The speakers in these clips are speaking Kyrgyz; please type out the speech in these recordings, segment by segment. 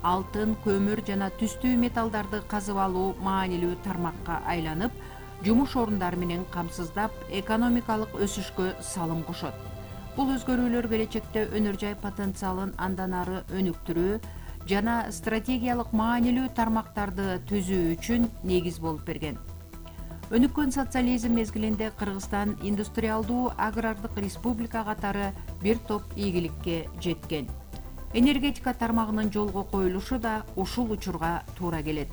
алтын, көмүр жана түстүү металлдарды казып алуу маанилүү тармакка айланып, жумуш орундары менен камсыздап, экономикалык өсүшкө салым кошот. Бул өзгөрүүлөр келечекте өнөр жай потенциалын андан ары өнүктүрүү жана стратегиялык маанилүү тармактарды түзүү үчүн негиз болуп берген. Өнүккөн социализм мезгилинде Кыргызстан индустриалдуу агрардык республика катары бир топ ийгиликке жеткен. Энергетика тармагынын жолго коюлушу да ушул учурга туура келет.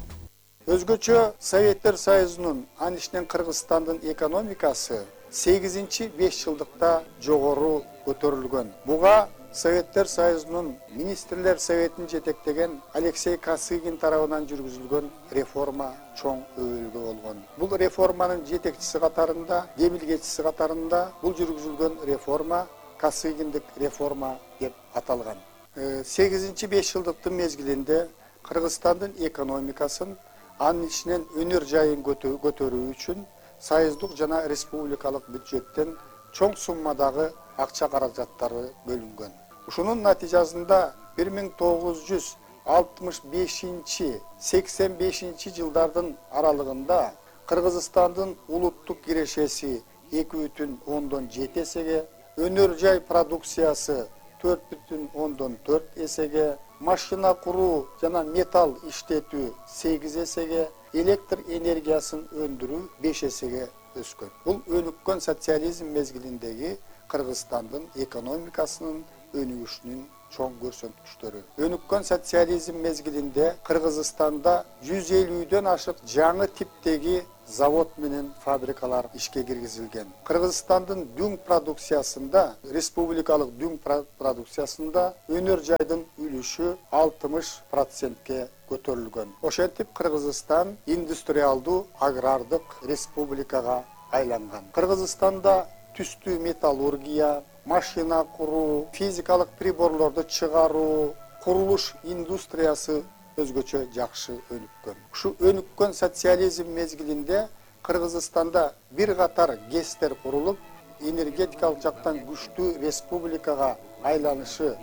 Өзгөчө Советтер Союзунун, анын ичинен Кыргызстандын экономикасы 8-5 жылдыкта жогору көтөрүлгөн. Буга Советтер Союзунун министрлер советин жетектеген Алексей Косыгин тарабынан жүргүзүлгөн реформа чоң өбөлгө болгон. Бул реформанын жетекчиси катарында, демилгечиси катарында бул жүргүзүлгөн реформа Косыгиндик реформа деп аталган. 8-5 жылдыктын мезгилинде Кыргызстандын экономикасын, анын ичинен өнөр жайын көтөрүү үчүн союздук жана республикалык бюджеттен чоң суммадагы акча каражаттары бөлүнгөн. Ушунун натыйжасында 1965-85 жылдардын аралыгында Кыргызстандын улуттук кирешеси 2,7 эсеге, өнөр жай продукциясы 4,4 эсеге, машина куруу жана металл иштетүү 8 эсеге, электр энергиясын өндүрүү 5 эсеге өскөн. Бул өнүккөн социализм мезгилиндеги Кыргызстандын экономикасынын өнүгүшүнүн чоң көрсөткүчтөрү. Өнүккөн социализм мезгилинде Кыргызстанда 150дөн ашык жаңы типтеги завод менен фабрикалар ишке киргизилген. Кыргызстандын дүң продукциясында, республикалык дүң продукциясында өнөр жайдын үлүшү 60%ке көтөрүлгөн. Ошентип Кыргызстан индустриалдуу агрардык республикага айланган. Кыргызстанда түстүү металлургия, машина куруу, физикалык приборлорду чыгаруу, курулуш индустриясы өзгөчө жакшы өнүккөн. Ушу өнүккөн социализм мезгилинде Кыргызстанда бир катар ГЭСтер курулуп, энергетикалык жактан күчтүү республикага айланышы,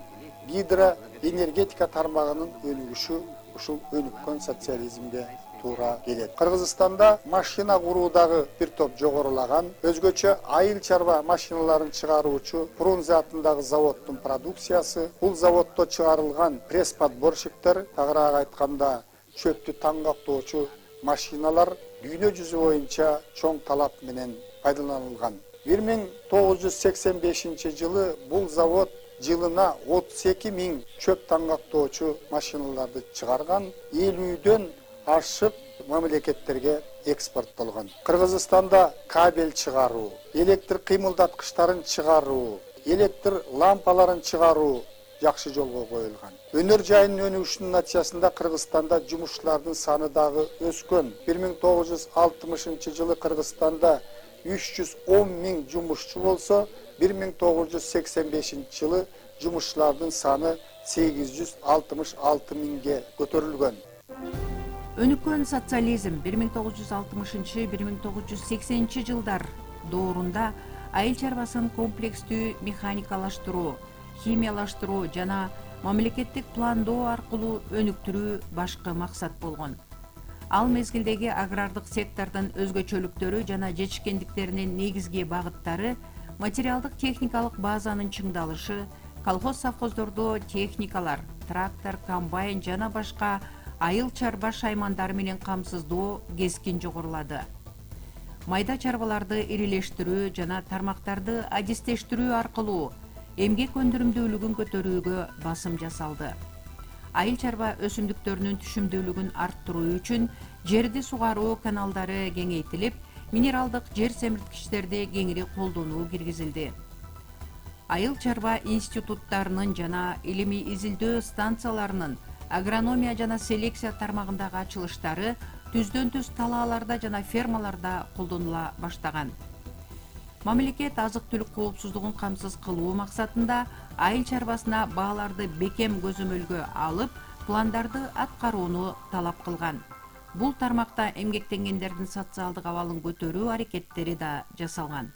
гидроэнергетика тармагынын өнүгүшү ушул өнүккөн социализмге туура келет. Кыргызстанда машина куруудагы бир топ жогорулаган, өзгөчө айыл чарба машиналарын чыгаруучу Фрунзе атындагы заводдун продукциясы, бул заводдо чыгарылган пресс-подборщиктер, тагыраак айтканда чөптү таңгактоочу машиналар дүйнө жүзү боюнча чоң талап менен пайдаланылган. 1985 жылы бул завод жылына 32 000 чөп таңгактоочу машиналарды чыгарган, 50дөн ашык мамлекеттерге экспорттолгон. Кыргызстанда кабель чыгаруу, электр кыймылдаткычтарын чыгаруу, электр лампаларын чыгаруу жакшы жолго коюлган. Өнөр жайынын өнүгүшүнүн натыйжасында Кыргызстанда жумушчулардын саны дагы өскөн. 1960 жылы Кыргызстанда 310 000 жумушчу болсо, 1985 жылы жумушчулардын саны 866 000ге көтөрүлгөн. Өнүккөн социализм 1960-1980 жылдар доорунда айыл чарбасын комплекстүү механикалаштыруу, химиялаштыруу жана мамлекеттик пландоо аркылуу өнүктүрүү башкы максат болгон. Ал мезгилдеги агрардык сектордун өзгөчөлүктөрү жана жетишкендиктеринин негизги багыттары материалдык техникалык базанын чыңдалышы, колхоз-совхоздордо техникалар, трактор, комбайн жана башка айыл чарба шаймандары менен камсыздоо кескин жогорулады. Майда чарбаларды ирилештирүү жана тармактарды адистештирүү аркылуу эмгек өндүрүмдүүлүгүн көтөрүүгө басым жасалды. Айыл чарба өсүмдүктөрүнүн түшүмдүүлүгүн арттыруу үчүн жерди сугаруу каналдары кеңейтилип, минералдык жер семирткичтерди кеңири колдонуу киргизилди. Айыл чарба институттарынын жана илимий изилдөө станцияларынын агрономия жана селекция тармагындагы ачылыштары түздөн-түз талааларда жана фермаларда колдонула баштаган. Мамлекет азык-түлүк коопсуздугун камсыз кылуу максатында айыл чарбасына бааларды бекем көзөмөлгө алып, пландарды аткарууну талап кылган. Бул тармакта эмгектенгендердин социалдык абалын көтөрүү аракеттери да жасалган.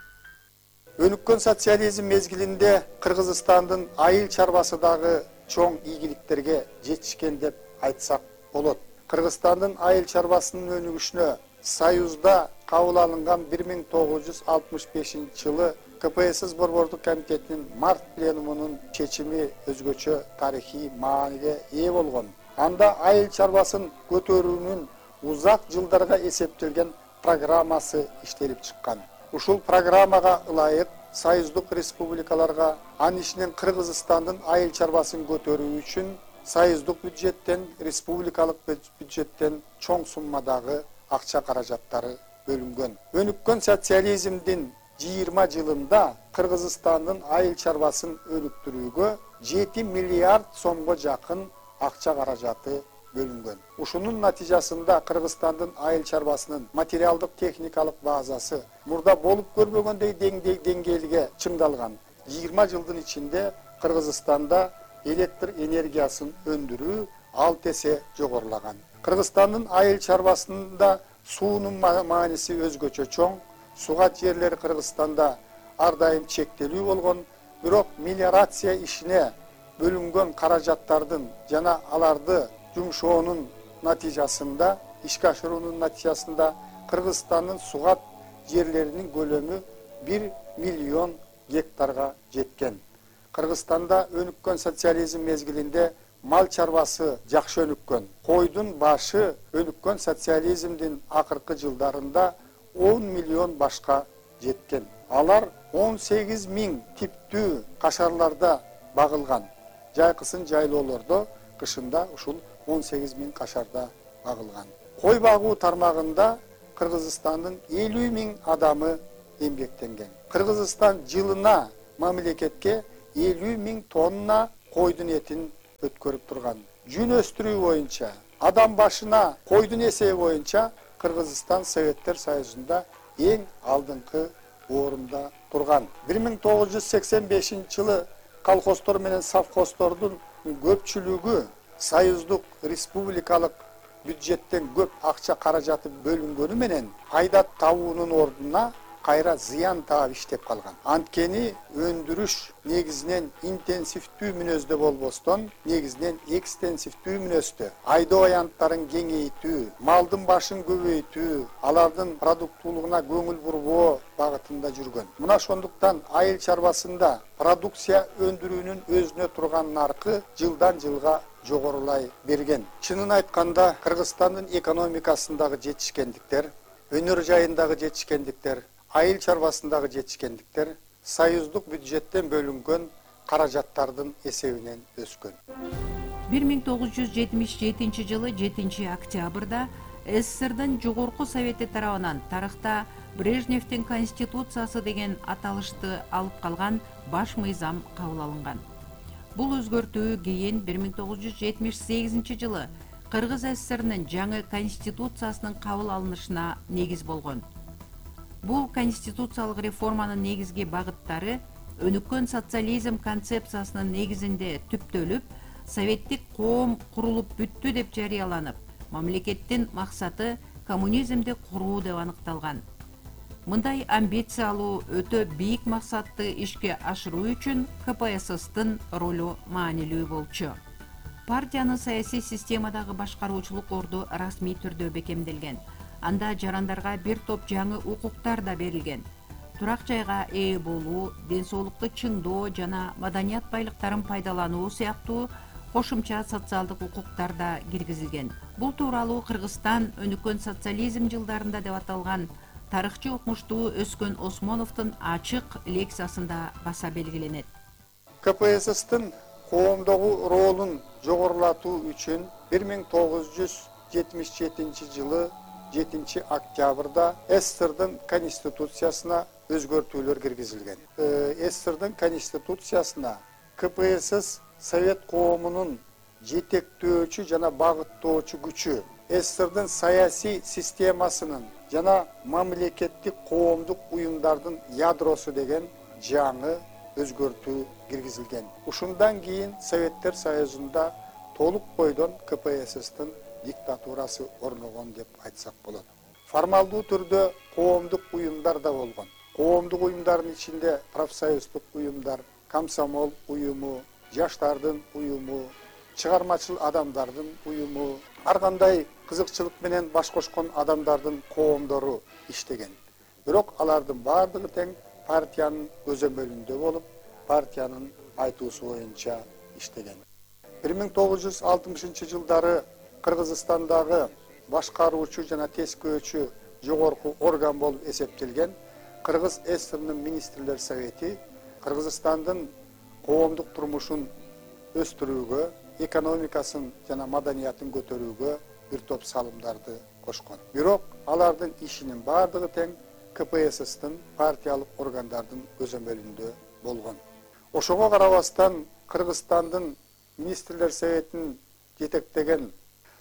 Өнүккөн социализм мезгилинде Кыргызстандын айыл чарбасы дагы чоң ийгиликтерге жетишкен деп айтсак болот. Кыргызстандын айыл чарбасынын өнүгүшүнө Союзда кабыл алынган 1965-жылы КПСС Борбордук комитетинин март пленумунун чечими өзгөчө тарыхый мааниге ээ болгон. Анда айыл чарбасын көтөрүүнүн узак жылдарга эсептелген программасы иштелип чыккан. Ушул программага ылайык союздук республикаларга анын ичинен Кыргызстандын айыл чарбасын көтөрүү үчүн союздук бюджеттен, республикалык бюджеттен чоң суммадагы акча каражаттары бөлүнгөн. Өнүккөн социализмдин 20 жылында Кыргызстандын айыл чарбасын өнүктүрүүгө 7 миллиард сомго жакын акча каражаты бөлүнгөн. Ушунун натыйжасында Кыргызстандын айыл чарбасынын материалдык техникалык базасы мурда болуп көрбөгөндөй деңгээлге чыңдалган. 20 жылдын ичинде Кыргызстанда электр энергиясын өндүрүү 6 эсе жогорулаган. Кыргызстандын айыл чарбасында суунун мааниси өзгөчө чоң. Сугат жерлери Кыргызстанда ар дайым чектелүү болгон, бирок мелиорация ишине бөлүнгөн каражаттардын жана аларды жумшоонун натыйжасында, ишке ашыруунун натыйжасында Кыргызстандын сугат жерлеринин көлөмү 1 миллион гектарга жеткен. Кыргызстанда өнүккөн социализм мезгилинде мал чарбасы жакшы өнүккөн. Койдун башы өнүккөн социализмдин акыркы жылдарында 10 миллион башка жеткен. Алар 18 миң типтүү кашарларда багылган. Жайкысын жайлоолордо кышында ушул 18 миң кашарда багылган. Кой багуу тармагында Кыргызстандын 50 миң адамы эмгектенген. Кыргызстан жылына мамлекетке 50 миң тонна койдун этин өткөрүп турган. Жүн өстүрүү боюнча, адам башына койдун эсеби боюнча Кыргызстан Советтер Союзунда эң алдыңкы орунда турган. 1985-жылы колхоздор менен совхоздордун көпчүлүгү союздук республикалык бюджеттен көп акча каражаты бөлүнгөнү менен пайда табуунун ордуна кайра зыян таап иштеп калган. Анткени өндүрүш негизинен интенсивдүү мүнөздө болбостон, негизинен экстенсивдүү мүнөздө. Айдоо аянттарын кеңейтүү, малдын башын көбөйтүү, алардын продуктуулугуна көңүл бурбоо багытында жүргөн. Мына ошондуктан айыл чарбасында продукция өндүрүүнүн өзүнө турган наркы жылдан жылга жогорулай берген. Чынын айтканда, Кыргызстандын экономикасындагы жетишкендиктер, өнөр жайындагы жетишкендиктер, айыл чарбасындагы жетишкендиктер союздук бюджеттен бөлүнгөн каражаттардын эсебинен өскөн. 1977 жылы 7 октябрда СССРдын жогорку совети тарабынан тарыхта Брежневдин конституциясы деген аталышты алып калган баш мыйзам кабыл алынган. Бул өзгөртүү кийин 1978 жылы Кыргыз СССРнын жаңы конституциясынын кабыл алынышына негиз болгон. Бул конституциялык реформанын негизги багыттары өнүккөн социализм концепциясынын негизинде түптөлүп, советтик коом курулуп бүттү деп жарыяланып, мамлекеттин максаты коммунизмди куруу деп аныкталган. Мындай амбициялуу, өтө бийик максатты ишке ашыруу үчүн КПССтын ролу маанилүү болчу. Партиянын саясий системадагы башкаруучулук орду расмий түрдө бекемделген. Анда жарандарга бир топ жаңы укуктар да берилген. Турак жайга ээ болуу, ден соолукту чыңдоо жана маданият байлыктарын пайдалануу сыяктуу кошумча социалдык укуктар да киргизилген. Бул тууралуу Кыргызстан өнүккөн социализм жылдарында деп аталган тарыхчы окумуштуу Өскөн Осмоновдун ачык лекциясында баса белгиленет. КПССтын коомдогу ролун жогорулатуу үчүн 1977 жылы 7 октябрда СССРдын конституциясына өзгөртүүлөр киргизилген. СССРдын конституциясына КПСС Совет коомунун жетектөөчү жана багыттоочу күчү, СССРдын саясий системасынын жана мамлекеттик коомдук уюмдардын ядросу деген жаңы өзгөртүү киргизилген. Ушундан кийин Советтер Союзунда толук бойдон КПССтин диктатурасы орногон деп айтсак болот. Формалдуу түрдө коомдук уюмдар да болгон. Коомдук уюмдардын ичинде профсоюздук уюмдар, комсомол уюму, жаштардын уюму, чыгармачыл адамдардын уюму, ар кандай кызыкчылык менен баш кошкон адамдардын коомдору иштеген. Бирок алардын баардыгы тең партиянын көзөмөлүндө болуп, партиянын айтуусу боюнча иштеген. 1960-жылдары Кыргызстандагы башкаруучу жана тескөөчү жогорку орган болуп эсептелген Кыргыз ССРнын министрлер совети Кыргызстандын коомдук турмушун өстүрүүгө, экономикасын жана маданиятын көтөрүүгө бир топ салымдарды кошкон. Бирок алардын ишинин баардыгы тең КПССтин партиялык органдардын көзөмөлүндө болгон. Ошого карабастан Кыргызстандын министрлер советин жетектеген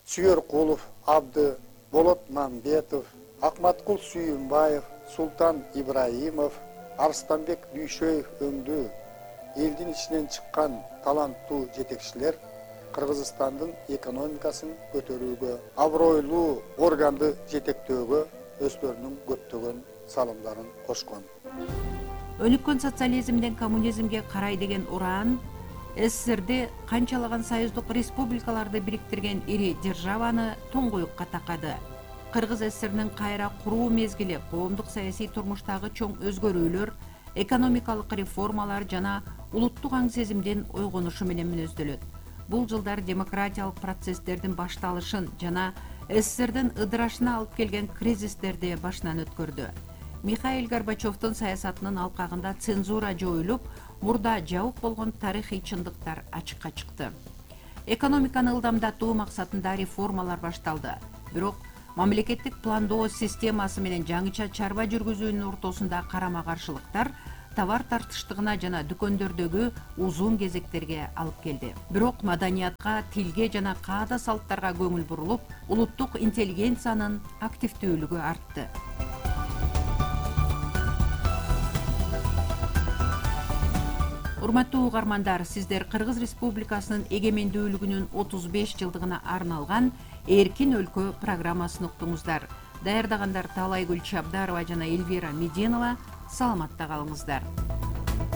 Сүйөркулов, Абды, Болот Мамбетов, Акматкул Сүйүнбаев, Султан Ибраимов, Арстанбек Дүйшөев өңдүү элдин ичинен чыккан таланттуу жетекчилер Кыргызстандын экономикасын көтөрүүгө, абройлуу органды жетектөөгө өздөрүнүн көптөгөн салымдарын кошкон. Өнүккөн социализмден коммунизмге карай деген уран СССРди канчалаган союздук республикаларды бириктирген ири державаны туңгуюкка такады. Кыргыз СССРнин кайра куруу мезгили коомдук саясий турмуштагы чоң өзгөрүүлөр, экономикалык реформалар жана улуттук аң сезимдин ойгонушу менен мүнөздөлөт. Бул жылдар демократиялык процесстердин башталышын жана СССРдин ыдырашына алып келген кризистерди башынан өткөрдү. Михаил Горбачевдун саясатынын алкагында цензура жоюлуп, мурда жабык болгон тарыхый чындыктар ачыкка чыкты. Экономиканы ылдамдатуу максатында реформалар башталды. Бирок мамлекеттик пландоо системасы менен жаңыча чарба жүргүзүүнүн ортосунда карама-каршылыктар товар тартыштыгына жана дүкөндөрдөгү узун кезектерге алып келди. Бирок маданиятка, тилге жана каада салттарга көңүл бурулуп, улуттук интеллигенциянын активдүүлүгү артты. Урматтуу угармандар, сиздер Кыргыз Республикасынын эгемендүүлүгүнүн 35 жылдыгына арналган Эркин өлкө программасын уктуңуздар. Даярдагандар Талайгүл Чабдарова жана Эльвира Меденова. Саламатта калыңыздар.